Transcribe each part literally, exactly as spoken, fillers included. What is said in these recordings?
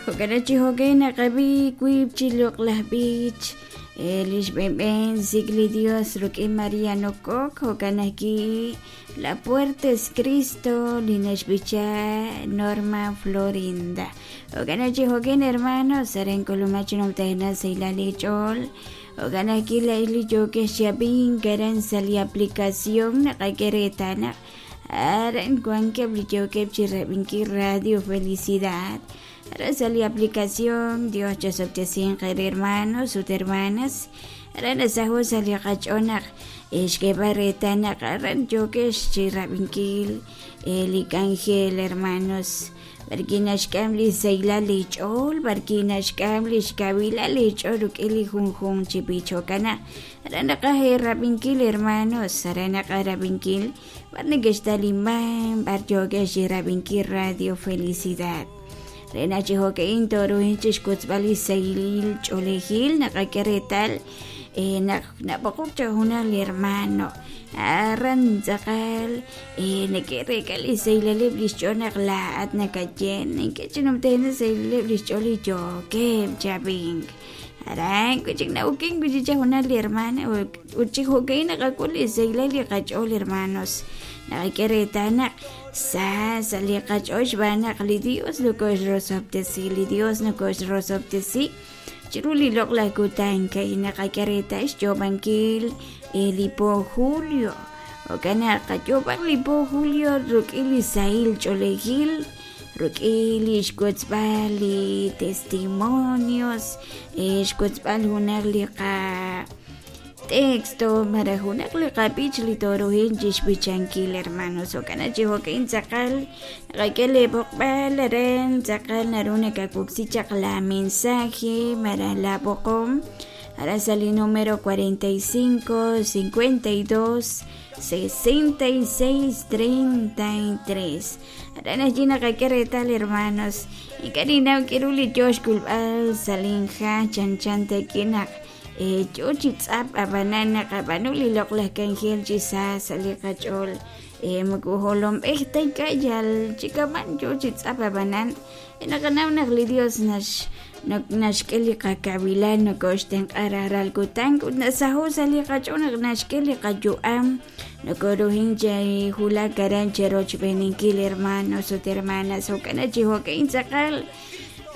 Jo'kan chi jo'kan naqab'i wiib' chi loq'laj b'ich lix b'enb'en sik li Dios rik'in Mariano Coc jo'kan ajwi' La Puerta es Cristo li naxb'icha Norma Florinda. Jo'kan chi jo'kan hermanos aren k'ulumaj chi numtajenaq saylal ich'ool jo'kan ajwi' la'ix li yookej xyab'in karan sa' li aplicación naqak'e reetal naq aran wankeb' li yookeb' chi rab'inkil Radio Felicidad. Ahora sale aplicación Dios chasoptesin hermanos ut hermanas. Ahora nasajo sali qach'onaq xk'eb'al reetal naq aran yookej chi rab'inkil li k'anjel hermanos barki naxk'am li saylal li ch'ool barki naxk'am li xkawilal li ch'ool rik'in li junjun chi b'ich jo'kan naq aran naqaj rab'inkil hermanos aran naqaj rab'inkil b'ar neke'xtaliman b'ar yookej chi rab'inkil Radio Felicidad. Rena chi jo'ka'in toruhin chi xkutzb'al li saylil ch'oolejil naqak'e reetal naq nab'oqok cha junaq li hermano aran tz'aqal neke'reek'a li saylaleb' li xch'ool naq laa'at nakaye neke'chinumtajenaq saylaleb' li xch'ool li yookeb' chab'ink aran wi'chik na'ukin wi'chik cha junaq li hermano ut chi jo'ka'in naqak'ul li saylal li qach'ool hermanos naqak'e reetal naq sa sa li qach'ool xb'aan naq li Dios nokoxrosob'tesi li Dios nokoxrosob'tesi chiru li loq'laj kutan kay naqak'e reetal xyoob'ankil li po julio jo'kan naq qayoob'aq li po julio rik'in li sahil ch'oolejil rik'in li xkotzb'al li testimonios xkotzb'al junaq li qa texto maraj junaq li qab'ich li toruhin chi xb'ichankil hermanos jo'kan chi jo'kan tz'aqal naqak'e li b'oqb'al aran tz'aqal naru nakawoksi chaq la mensaje maraj la b'oqom ara sa li número cuarenta y cinco, cincuenta y dos, sesenta y seis, treinta y tres. Aran allí naqak'e reetal hermanos ink'a' kiru li yoo xk'ulb'al salinja chan chan takinaq yo chi tz'ap ab'anan naqab'anu li loq'laj k'anjel chi sa sa' li qach'ool moko jolomb'ej ta ink'a' yal chikaman yo chi tz'ap ab'anan naqanaw naq li Dios nax naxk'e li qakawilal nokoxtenq'a rajlal kutan ut nasaho sa' li qach'ool naq naxk'e li qayu'am nokoruhin chi wulak aran cherochb'eninkil hermanos ut hermanas jo'kan chi jo'kan tz'aqal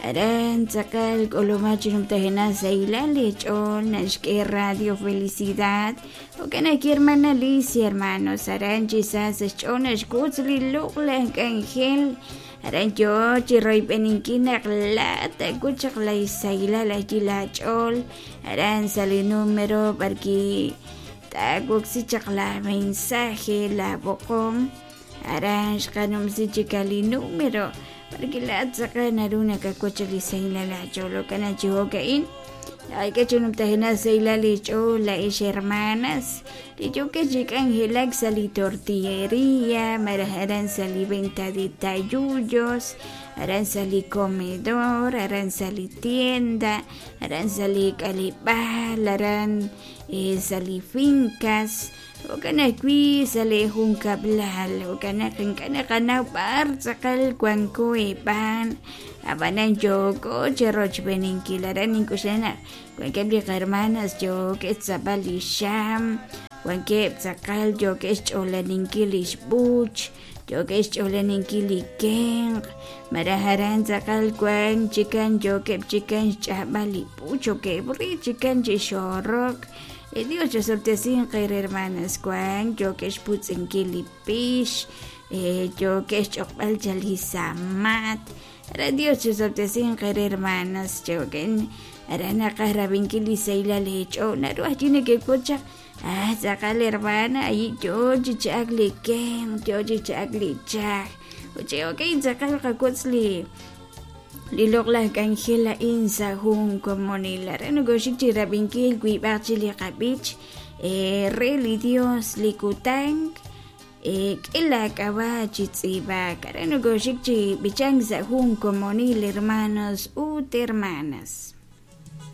aran tz'aqal k'ulumaj chi numtajenaq saylal li ch'ool naxk'e Radio Felicidad jo'kan ajwi' hermana Alicia hermanos aran chi sa sa' xch'ool naxk'utz li loq'laj k'anjel aran yoo chi royb'eninkil naq laa'at taak'ut chaq la saylal ajwi' la ch'ool aran sa' li número b'arki taawoksi chaq la mensaje la b'oqom aran xqanumsi chik li número porque la tz'aqal naru nakakuach li saylal ach'ool jo'kan chi jo'ka'in naqak'e chi numtajenaq saylal li ch'ool la'ix hermanas li yookeb' chi k'anjelak sa' li tortillería maraj aran sa' li venta de tayullos aran sa' li comedor aran sa' li tienda aran sa' li k'aleb'aal aran sa' li fincas jo'kan ajwi' sa' li junkab'lal jo'kan naq ink'a' naqanaw b'ar tz'aqal wanko eb'an ab'anan yooko cherochb'eninkil aran ink'uxla naq wankeb' li hermanas yookeb' xtz'ab'al li xam wankeb' tz'aqal yookeb' xch'oolaninkil li xb'uch yookeb' xch'oolaninkil li kenq maraj aran tz'aqal wan chikan yookeb' chikan xch'ab'al li b'uch yookeb' ri chikan chi xorok. Dios chasob'tesin qer hermanas wan yookeb' xputz'inkil li pix yookeb' xch'oqb'al chal li samat ara Dios chasob'tesin qer hermanas yookeb' ara naqaj rab'inkil li saylal li ch'ool naru ajwi' neke'k'ut chaq ah tz'aqal hermana ayi yoo chi cha'ak li kenq yoo chi cha'ak li chaj ut yookeb' tz'aqal qak'utz li li loq'laj k'anjel a'in sa' jun komonil aran nokoxik chi rab'inkil wiib'aq chi li qab'ich re li Dios li kutan k'e la k'ab'a' chi tz'iib'ak aran nokoxik chi b'ichank sa' jun komonil hermanos ut hermanas.